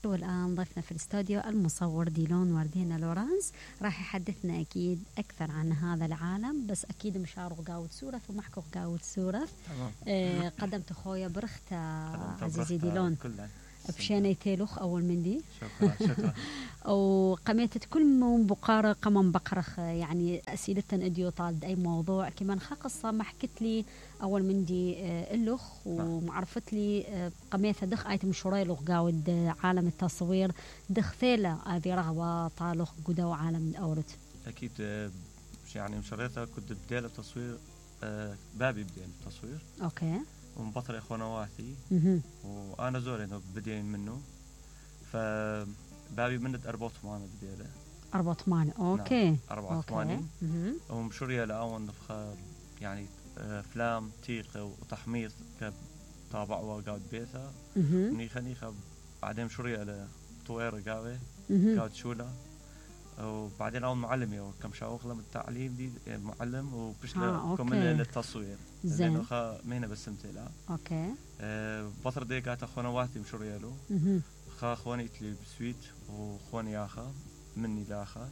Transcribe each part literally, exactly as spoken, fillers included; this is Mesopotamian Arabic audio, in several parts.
والآن ضيفنا في الاستوديو المصور ديلون وردينا لورانس راح يحدثنا أكيد أكثر عن هذا العالم، بس أكيد مشارو قاود سورث ومحكو قاود سورث. آه قدمت خويا برختا عزيزي ديلون بشيني تيلوخ أول مندي شكرا شكرا وقميتت كل من بقارة قمم بقرخ يعني أسئلتن اديو طالد أي موضوع كمان خا قصة ما حكت لي أول مندي اللخ ومعرفت لي قميثة دخ آيت مشوري لغ قاود عالم التصوير دخ ثيلة هذه رغبة طالخ قدا وعالم الأورت. أكيد يعني مشريتها كنت بديل التصوير بابي بديل التصوير أوكي ومبطل اخوانواتي وانا زوري انه بدين منه فبابي منت أربعة وثمانين بديله أربعة وثمانين اوكي نعم. أربعة وثمانين ومشوريا لأون نفخه يعني افلام تيقه وتحميص كطابعوا قاود بيتها نيخه نيخه بعدين مشوريا لطويره قاوي قاود شوله وبعدين اول معلم يو كم شاوخ لم التعليم دي معلم وبشلا كمل للتصوير زين خا مهنه بس متلا اوكي أه بطر دي قالت اخوانواتي مشوريالو خا اخواني تلي بسويت واخواني اخا مني لاخا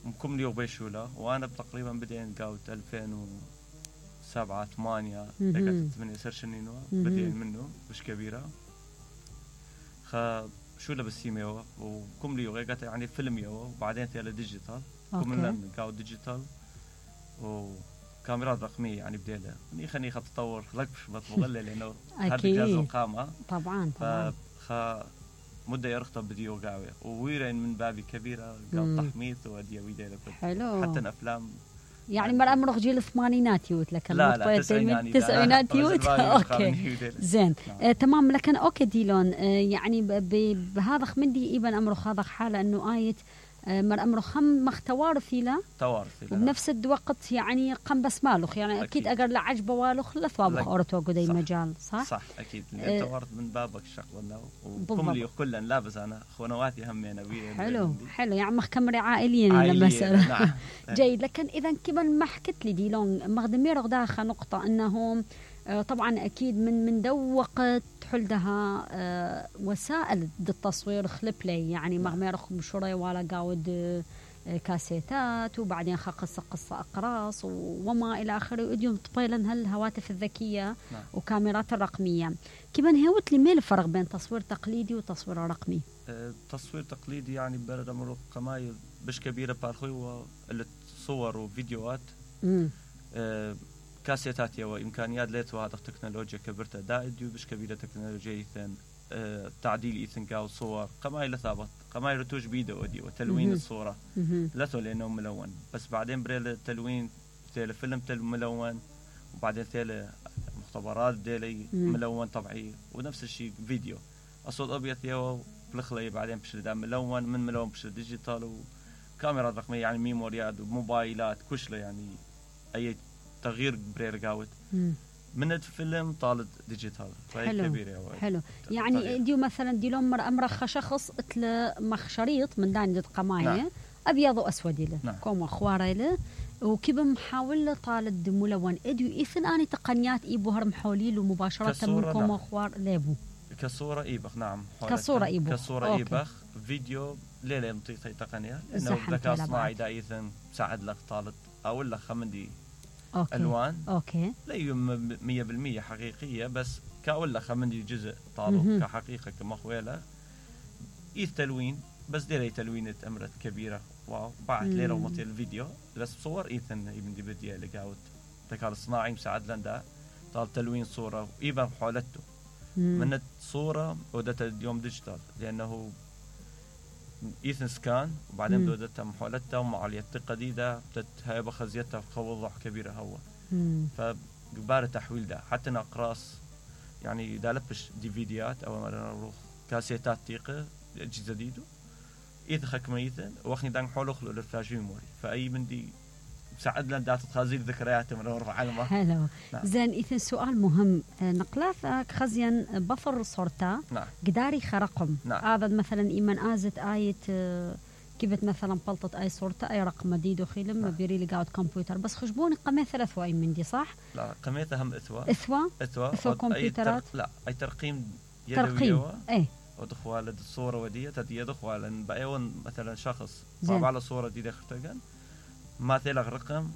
مكم لي وبيشولا وانا تقريبا بدين قاوت ألفين وسبعة ثمانية دقت ثمانية سرشنينو بدين منه مش كبيره خا شو لبس يوه وكم لي وقعت يعني فيلم يوه وبعدين تيلا ديجيتال كم لنا قاو ديجيتال وكاميرات رقميه يعني بديله ني خني خط تطور لكش بتمغلل لانه هذا جهاز القامه طبعا طبعا فخ مده يرخطب فيديو قاوي وويرين من بابي كبيره قاو تحميص ودي ويديله حلو حتى الافلام يعني مر امر جيل الثمانينات يوت لكن لا لا تسعينات تسعينات يوت اوكي زين آه تمام لكن اوكي ديلون آه يعني بهذا خمدي ابن امره هذا حاله انه ايت آه مر امره خم مختوار فيلا توارث وبنفس الوقت يعني قم بس مالخ يعني اكيد, أكيد اقر لعجبه والخ لثوابخ اورتو قدي المجال صح صح اكيد آه توارث من بابك الشغله وكم لي كلن لابس انا اخوانواتي هم انا حلو حلو يعني مخكمري عائليا المساله نعم. جيد لكن اذا كمان ما حكت لي ديلون مخدمير داخل نقطه انه طبعا اكيد من من دو وقت حلدها أه وسائل التصوير خلبلي يعني مغميرخ مشوري ولا قاود أه كاسيتات وبعدين قصة قصة أقراص وما إلى آخره وديوم طبيلا هالهواتف الذكية نعم. وكاميرات الرقمية كمان هوت لي ميل الفرق بين تصوير تقليدي وتصوير رقمي أه تصوير تقليدي يعني برد أمر قمايل بش كبيرة بارخوي صور وفيديوهات أه كاسيتات يوا إمكانيات ليتوا هذا التكنولوجيا كبرتها دائد وبش كبيرة تكنولوجيا إيثن أه تعديل إيثن كاو صور قمايل ثابت قمايل رتوج بيدو ودي وتلوين الصورة لاتو لأنه ملون بس بعدين بريل التلوين تيل فيلم تل ملون وبعدين تيل مختبرات ديلي ملون طبيعي ونفس الشيء فيديو أصوات أبيض يوا بلخلي بعدين بشر ملون من ملون بشر ديجيتال وكاميرا رقمية يعني ميموريات وموبايلات كشله يعني أي تغيير برير قاوت من الفيلم طالت ديجيتال حلو كبير حلو يعني تغيير. ديو مثلا دي لمر امرخ شخص اتل مخ شريط من دان قمايه نعم. ابيض واسود له نعم. كوم اخواره له وكيف محاول طالد ملون اديو ايثن اني تقنيات ايبو هرم حوليل ومباشره من كوم اخوار ليبو كصوره ايبخ نعم كصوره ايبخ كصوره ايبخ فيديو ليله مطيطي تقنيه انه ذكاء اصطناعي دا ايثن مساعد لك طالت او لك خمدي أوكي. ألوان أوكي لا مية بالمية حقيقية بس كأولا خمندي جزء طالب كحقيقة كمخويلة إيث تلوين بس ديري تلوينة أمرت كبيرة واو بعد ليرة ومطي الفيديو بس صور إيثن ابن دي بدي لقاوت ذكاء الصناعي مساعد لندا طال تلوين صورة إيبا حولته من الصورة ودت اليوم ديجيتال لأنه إيثن سكان وبعدين دودتها محولتها ومعالية القديدة هاي بخزيتها في وضوح كبيرة هو فقبار تحويل ده حتى نقراص يعني دا لبش ديفيديات أو مرة كاسيتات تيقة أجهزة جديدة إيثن خك ميثن وأخني دان حول أخلو للفلاش ميموري فأي من دي ساعد لنا دات تخازيل ذكريات من ورفع علمه حلو نعم. زين إذن سؤال مهم نقلاثك خزيا بفر صورتا نعم. قداري خرقم نعم. هذا مثلا إيمان آزت آية كيفت مثلا بلطة أي صورتا أي رقم مديد وخيلم نعم. بيري لقاود كمبيوتر بس خشبوني قمي ثلاث وأي من دي صح؟ لا قميتها هم إثوى إثوى إثوى إثوى كمبيوترات تر... لا أي ترقيم ترقيم ايه ودخوال الصورة ودية تدي دخوال بأيون مثلا شخص طبع على صورة دي دخرتجن ما تلغ رقم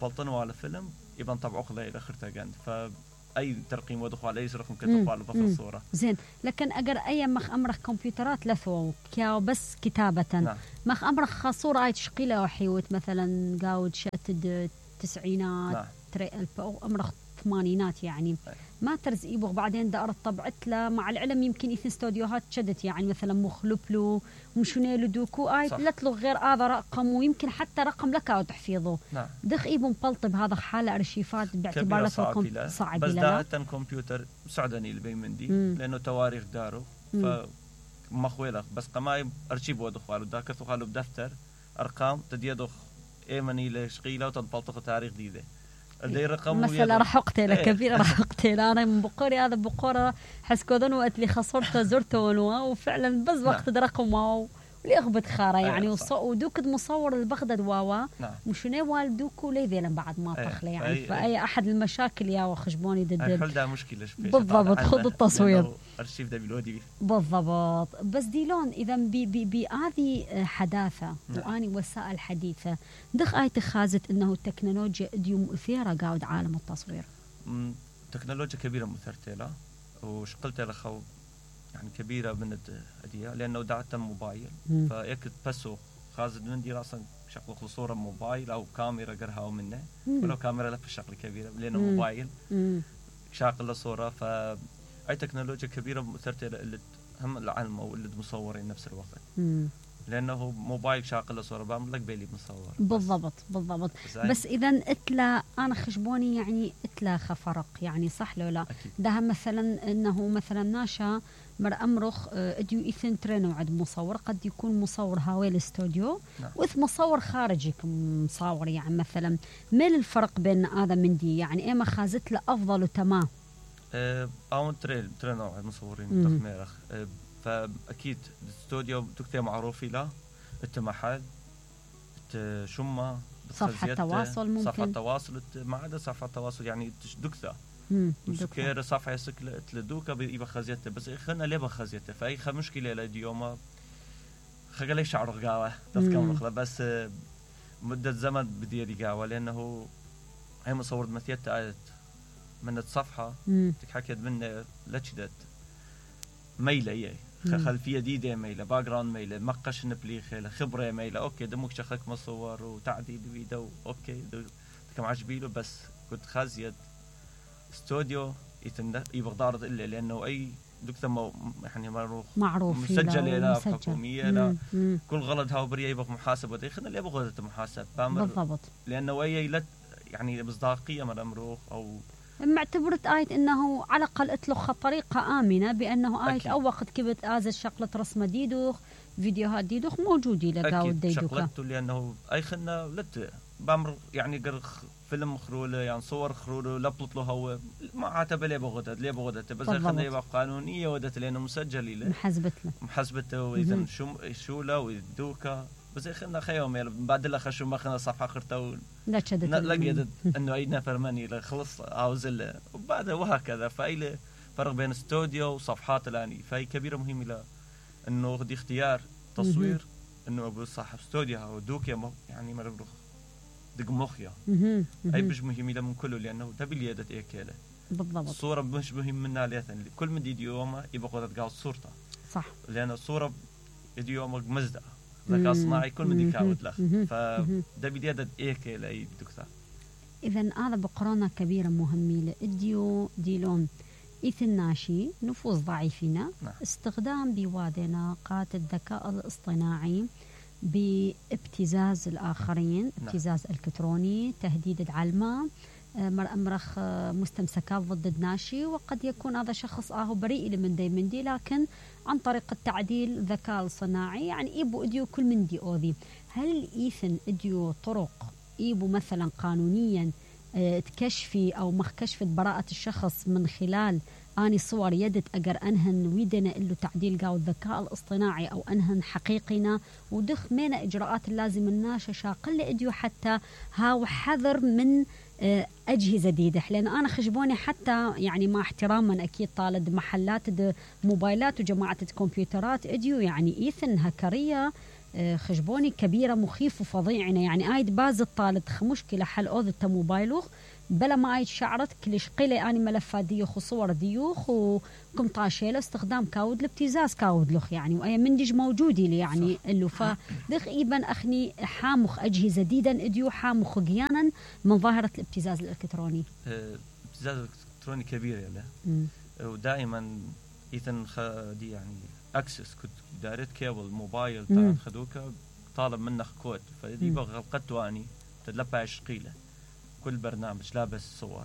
بلطن على فيلم يبان طبعه خلا إلى خرتجن فأي ترقيم ودخوال أي رقم كتخوال بفر الصورة زين لكن أجر أي مخ أمرك كمبيوترات لثو كيا بس كتابة نعم. مخ أمرك خصورة أي تشقيلة وحيوت مثلا قاود شتد تسعينات نعم. تري ألف أو أمرك ثمانينات يعني ما ترز يبغى بعدين دار طبعت له مع العلم يمكن يثن استوديوهات شدت يعني مثلا مخلبلو مشونيلو دوكو آي لا تلغ غير هذا رقم ويمكن حتى رقم لك أو تحفيظه نعم. دخ يبون مبلطب هذا حالة أرشيفات باعتبار لكم صعب بس ده كمبيوتر سعدني اللي بيمندي لأنه تواريخ داره فمخويلة بس قماي أرشيف ودخوالو داك ثقالو بدفتر أرقام تديدخ إيماني لشقيلة وتنبلطخ تاريخ ديده مثلا راح اقتله كبير راح اقتله انا من بقوري هذا بقوره حسكودن وقت اللي خسرته زرته وفعلا بس وقت رقم واو اللي اخبط خاره يعني ودوك مصور البغداد واوا مشنو والدوكو ليذيلا بعد ما طخله يعني فاي احد المشاكل يا وخشبوني ضد الحل ده مشكله بالضبط خذ التصوير ارشيف ده بالودي بالضبط بس ديلون اذا بهذه حداثه واني وسائل حديثه دخ اي تخازت انه التكنولوجيا اديو مؤثره قاعد عالم التصوير تكنولوجيا كبيره مثرته له وشقلت له خو يعني كبيرة من الأدية لأنه دعتها موبايل فيك تبسو خازد من دي راسا شغل صورة موبايل أو كاميرا قرها منه ولو كاميرا لف الشغل كبيرة لأنه مم. موبايل شاغل صورة فأي تكنولوجيا كبيرة مثرتها اللي هم العالم أو اللي مصورين نفس الوقت مم. لأنه موبايل شاغل صورة بعمل لك بيلي مصور بالضبط بالضبط بس, بس إذا اتلا أنا خشبوني يعني اتلا خفرق يعني صح لو لا ده مثلا إنه مثلا ناشا مر أمرخ اديو إثن ترينو عد مصور قد يكون مصور هاوي الاستوديو نعم. وإث مصور خارجي مصور يعني مثلا ما الفرق بين هذا من دي يعني إما خازت له أفضل وتمام أه أو ترين ترينو عد مصورين تخميرخ أه فأكيد الاستوديو تكتب معروفي له التمحل الشمة صفحة تواصل ممكن صفحة تواصل ما عدا صفحة تواصل يعني دكتة مسكير صفحة سكلة تلدوكا بيبقى خزيته بس خلنا ليه بخزيته فأي خ مشكلة لديوما خجلي شعر قاوة تذكر بس مدة زمن بدي دي قاوة لأنه هي مصور مثيت آية من الصفحة تحكيت منه لشدت ميلة إيه خلفية ديدة ميلة باقران ميلة مقش نبلي خيلة خبرة ميلة أوكي دموك شخك مصور وتعديل فيديو أوكي كم عجبيله بس كنت خازيت استوديو يبغى ضارض إلا لأنه أي دكتور يعني معروف معروف مسجل لا حكومية لا كل غلط هاو بريء يبغى محاسبة ده خلنا اللي يبغى غلط محاسب بالضبط لأنه أي لا يعني مصداقية من أمره أو معتبرت آية إنه على الأقل أطلق طريقة آمنة بأنه آية أو وقت كبت آز الشغلة رسمة ديدوخ فيديوهات ديدوخ موجودة لقاو ديدوخ شغلته لأنه أي خلنا لت بأمر يعني قر فيلم مخروله يعني صور خروله لبطت له هو ما عاتبه ليه بغدت ليه بغدت بس خلنا يبقى قانونية ودت لأنه مسجل له محسبت له محسبته وإذا شو شو له ويدوكا بس خلنا خيوم يعني بعد لا خشوا ما خلنا صفحة خرته لا شدت لقيت إنه أي نفر مني خلص عاوز وبعد وهكذا فأي فرق بين استوديو وصفحات الآني فهي كبيرة مهمة له إنه دي اختيار تصوير إنه أقول صاحب استوديو أو دوكيا يعني ما نبرخ دق مخيا أي مش مهم له من كله لأنه تبي لي يدت إيكاله بالضبط الصورة مش مهم منها ليثن كل من دي يومه يبغى قدرت قاعد صورته صح لأن الصورة دي يومه مزدة ذكاء صناعي كل من دي كاود له فدبي لي يدت إيكاله أي دكتور إذا هذا بقرانة كبيرة مهمة لإديو ديلون إثن ناشي نفوذ ضعيفنا نعم. استخدام بوادنا قات الذكاء الاصطناعي بابتزاز الآخرين نعم. ابتزاز إلكتروني تهديد العلمة مرخ مستمسكات ضد الناشي وقد يكون هذا شخص آه بريء من دي من دي لكن عن طريق التعديل ذكاء صناعي يعني إيبو إديو كل من دي أوذي هل إيثن إديو طرق إيبو مثلا قانونيا تكشفي أو مخ كشفت براءة الشخص من خلال اني صور يدت اقر انهن ويدنا له تعديل قاو الذكاء الاصطناعي او انهن حقيقينا ودخ مينا اجراءات اللازم الناشا شاقل اديو حتى هاو حذر من اجهزه جديده. لان انا خشبوني حتى يعني مع احتراما اكيد طالد محلات موبايلات وجماعه الكمبيوترات اديو يعني ايثن هكريه خشبوني كبيره مخيف وفظيعنا يعني ايد باز الطالد مشكله حل اوذ موبايلوخ بلا ما ايد شعرت كلش قيله اني ملفات ديوخ وصور ديوخ وكم طاشيله استخدام كاود الابتزاز كاود لخ يعني واي منتج موجودي لي يعني اللي فدخ ايبن اخني حامخ اجهزه جديدا اديو حامخ قيانا من ظاهره الابتزاز الالكتروني. الابتزاز الالكتروني كبير يلا ودائما ايثن دي يعني اكسس كنت دارت كيبل موبايل تاع خدوكا طالب منك كود فدي بغى غلقت واني تدلبها عشقيله كل برنامج لابس صور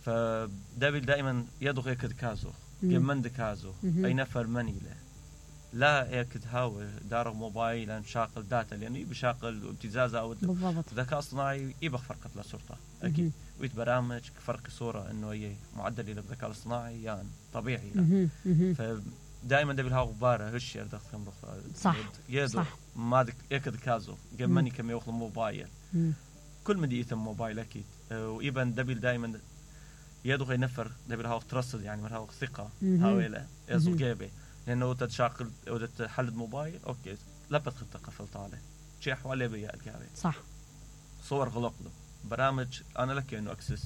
فدابل دائما يدغ يكد كازو يمند كازو اي نفر منيله لا يكد هاو دار موبايل شاقل داتا لانه يعني بشاقل ابتزاز او ذكاء اصطناعي يبغى فرقه لصورته اكيد ويت برامج فرق صوره انه هي معدل للذكاء الاصطناعي يعني طبيعي لا فدائما دابل هاو غباره هش يردخ صح يدو ما يكد كازو يمني كم ياخذ موبايل كل من يثم موبايل اكيد وايبن دبل دائما يدغ ينفر دبل هاو ترصد يعني من هاو ثقه هاويله يزو جيبه لانه تتشاقل او تحل موبايل اوكي لبت خطه قفل طاله شي حوالي بيا الجابه صح صور غلق له برامج انا لك انه اكسس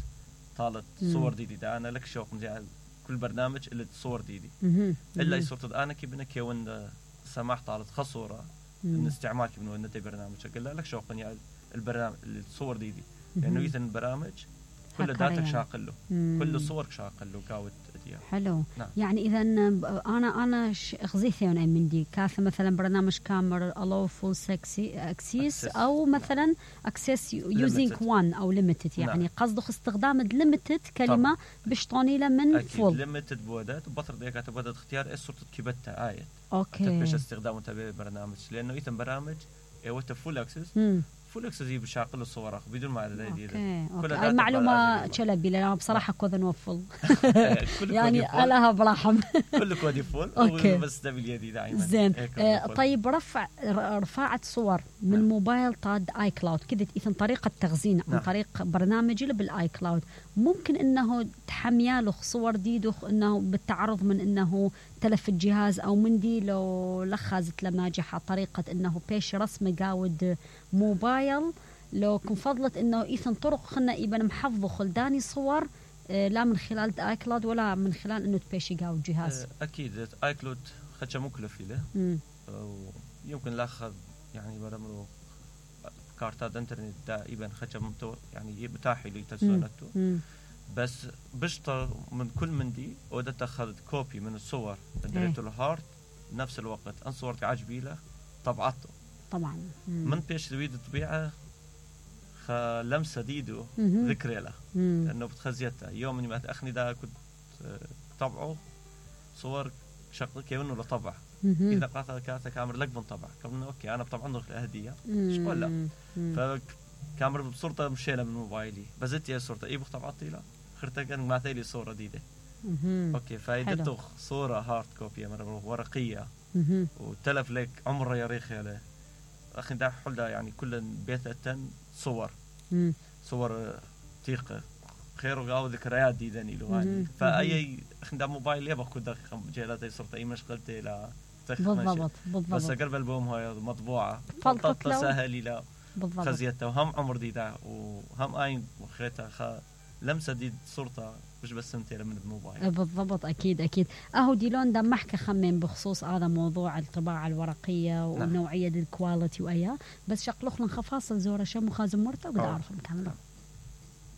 طالت صور دي, دي ده انا لك شوق مزيان كل برنامج اللي صور دي دي الا صورة انا كي بنك وين سماح طالت خصوره من استعمال من وين برنامج قال لك شوق يعني البرنامج الصور دي دي لانه يثن البرامج كل داتك شاقل له كل الصور شاقل له كاوت ديال حلو نعم. يعني اذا انا انا غزيثي انا من دي كاث مثلا برنامج كاميرا الو فول سكسي اكسيس او مثلا اكسس يوزينج وان او ليميتد يعني نعم. قصده استخدام ليميتد كلمه بشطوني له من فول ليميتد بودات وبطر ديك تبدا اختيار ايش صورة كيبتها ايه اوكي باش استخدامه تبع برنامج لانه يثن برامج ايوه فول اكسس فول اكسس بشاقل الصور بدون ما على دي كل المعلومه تشلبي لأن بصراحه كود نوفل يعني لها برحم كل كود فول بس ده باليدي دائما زين آه طيب رفع رفعت صور من نعم. موبايل طاد اي كلاود كذا اذا طريقه تخزين نعم. عن طريق برنامج اللي بالاي كلاود ممكن انه تحمياله صور دي انه بالتعرض من انه تلف الجهاز او من دي لو لخزت لناجحه طريقه انه بيش رسمه قاود موبايل لو كن فضلت انه ايثن طرق خلنا يبقى محفظه خلداني صور آه لا من خلال اي كلاود ولا من خلال انه تبيشي قاو الجهاز. اكيد اي كلاود خدشه مكلف له يمكن لاخذ يعني برمرو كارتات انترنت دائما خدشه متو يعني بتاحي لي تسونته بس بشطر من كل من دي ودت اخذت كوبي من الصور دريت له هارد نفس الوقت ان صورتي عجبي له طبعته طبعا مم. من بيش تريد الطبيعه لمسه ديدو ذكرى له لانه بتخزيتها يوم ما اخني دا كنت طبعه صور شغل كانه له طبع اذا قاطع كارت كاميرا لك من طبع كمان اوكي انا طبعا ندخل هديه ايش قول لا فكاميرا بصورته مشيله من موبايلي بزت يا صورته اي طبعتي له خرت كان معتي لي صوره جديده اوكي فايدته صوره هارد كوبي مره ورقيه وتلف لك عمره يا ريخي له اخي دا حلدا يعني كل بيتة صور مم. صور تيقه خير وقاو ذكريات دي دني له يعني فاي اخي دا موبايل يبغى كود جهلاتي صرت اي مشغلتي لا بالضبط بالضبط بس قرب البوم هاي مطبوعه فلطت سهل لا خزيتها وهم عمر دي دا وهم اي وخيتها خ لمسه دي صورتها مش بس انت من الموبايل بالضبط اكيد اكيد اهو ديلون ده محكي خمن بخصوص هذا موضوع الطباعه الورقيه ونوعيه الكواليتي واياه بس شقلخ لنا خفاصل زوره شم وخازم مرته وقد اعرف نكمل